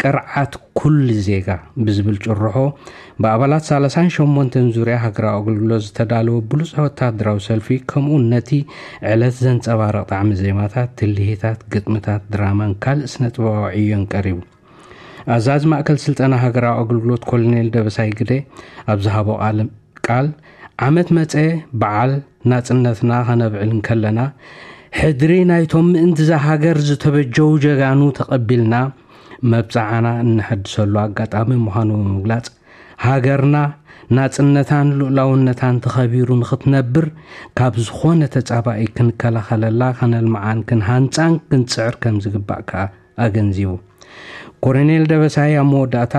ቅርዓት ኩሉ ዜጋ ብዝብል ጭርሖ ብኣባላት ሰላሳን ሸሞንተን ዙርያ ሃገራዊ ኣገልግሎት ዝተዳለወ ብሉጽ ወታደራዊ ሰልፊ፣ ከምኡ ነቲ ዕለት ዘንጸባርቕ ጣዕሚ ዜማታት፣ ትልሂታት፣ ግጥምታት፣ ድራማን ካልእ ስነ ጥበባዊ ዕዮን ቀሪቡ። ኣዛዚ ማእከል ስልጠና ሃገራዊ ኣገልግሎት ኮሎኔል ደበሳይ ግደ ኣብ ዝሃቦ ቃል፣ ዓመት መጸ በዓል ናጽነትና ከነብዕል እንከለና፣ ሕድሪ ናይቶም ምእንቲ እዛ ሃገር ዝተበጀው ጀጋኑ ተቐቢልና፣ መብጽዓና እነሐድሰሉ ኣጋጣሚ ምዃኑ ብምግላጽ፣ ሃገርና ናጽነታን ልኡላውነታን ተኸቢሩ ንኽትነብር፣ ካብ ዝኾነ ተጻባኢ ክንከላኸለላ፣ ከነልምዓን ክንሃንጻን ክንጽዕር ከም ዝግባእ ከኣ ኣገንዚቡ። ኮሎኔል ደበሳይ ኣብ መወዳእታ፣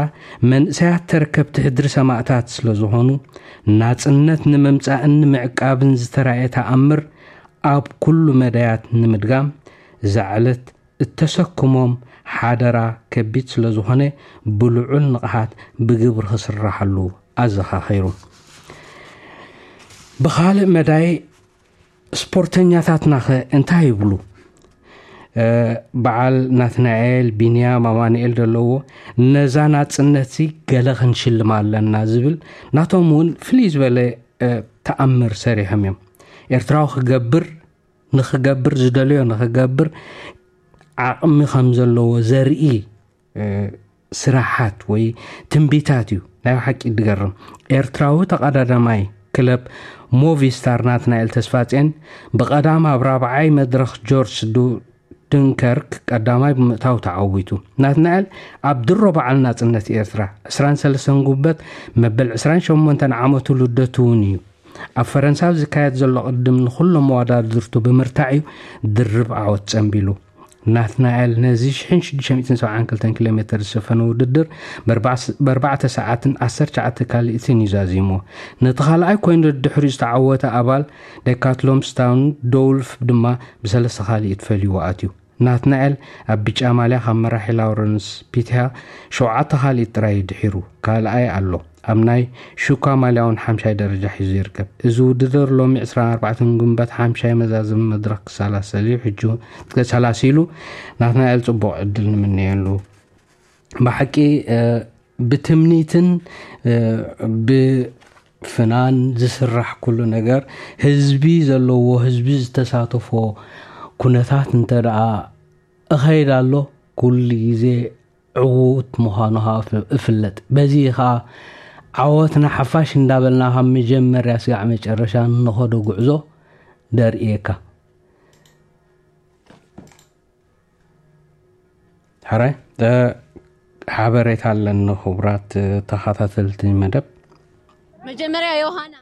መንእሰያት ተረከብቲ ሕድሪ ሰማእታት ስለ ዝኾኑ፣ ናጽነት ንምምጻእን ንምዕቃብን ዝተራእየ ተኣምር ኣብ ኩሉ መዳያት ንምድጋም፣ እዛ ዕለት እተሰክሞም ሓደራ ከቢድ ስለ ዝኾነ፣ ብልዑል ንቕሓት ብግብሪ ክስራሓሉ ኣዘኻኺሩ። ብኻልእ መዳይ፣ ስፖርተኛታትናኸ እንታይ ይብሉ? እ፣ በዓል ናትናኤል፣ ቢንያም፣ ኣማኑኤል ዘለዎ፣ ነዛ ናጽነትሲ ገለ ክንሽልማ ኣለና ዝብል ናቶም እውን ፍልይ ዝበለ፣ እ፣ ተኣምር ሰሪሖም እዮም። ኤርትራዊ ክገብር፣ ንኽገብር ዝደለዮ ንኽገብር ዓቕሚ ከም ዘለዎ ዘርኢ፣ እ፣ ስራሓት ወይ ትንቢታት እዩ። ናይ ሓቂ ድገርም። ኤርትራዊ ተቐዳዳማይ ክለብ ሞቪስታር ናትናኤል ተስፋጽዮን ብቐዳም ኣብ ራብዓይ መድረኽ ጆርጅ ዱ-፣ ዱንከርክ ቀዳማይ ብምእታው ተዓዊቱ። ናትናኤል ኣብ ድሮ በዓል ናጽነት ኤርትራ ዕስራን ሰለስተን ጉንበት መበል ዕስራን ሸሞንተን ዓመቱ ልደቱ እውን እዩ። ኣብ ፈረንሳ ኣብ ዝካየድ ዘሎ ቅድም ንኹሎም መወዳድርቱ ብምርታዕ እዩ ድርብ ዓወት ጸንቢሉ። ናትናኤል ነዚ ሽሕን ሽዱሽተ ሚእትን ሰብዓን ክልተን ኪሎ ሜተር ዝሸፈነ ውድድር ብኣርባዕተ ሰዓትን ዓሰርተ ትሽዓተ ካልኢትን እዩ ዛዚሙ። ነቲ ካልኣይ ኮይኑ ድሕሪኡ ዝተዓወተ ኣባል ዴካትሎን ስታውን ዶውልፍ ድማ ብሰለስተ ካልኢት ፈልይዎ ኣትዩ። ናትናኤል ኣብ ብጫ ማልያ ካብ መራሒ ላውረንስ ፒቲያ ሸውዓተ ካልኢት ጥራይ ድሒሩ ካልኣይ ኣሎ። ኣብ ናይ ሹካ ማልያ እውን ሓምሻይ ደረጃ ሒዙ ይርከብ። እዚ ውድድር ሎሚ ዕስራን ኣርባዕተን ግንቦት ሓምሻይ መዛዘሚ መድረኽ ክሰላሰል እዩ። ሕጂ እውን ክሰላሲሉ ናትናኤል ጽቡቕ ዕድል ንምነየሉ። ብሓቂ፣ እ፣ ብትምኒትን፣ እ፣ ብፍናን ዝስራሕ ኩሉ ነገር ህዝቢ ዘለዎ፣ ህዝቢ ዝተሳተፎ ኩነታት እንተ ደኣ እኸይድ ኣሎ፣ ኩሉ ግዜ ዕዉት ምዃኑ ኸዓ እፍ-፣ እፍለጥ። በዚ ኸዓ ዓወትና ሓፋሽ እንዳበልና ካብ መጀመርያ ስጋዕ መጨረሻ እንኸዶ ጉዕዞ ደርእየካ። ሕራይ፣ እ፣ ሓበሬታ ኣለኒ፣ ክቡራት፣ እ፣ ተኸታተልቲ መደብ። መጀመርያ ዮሃና።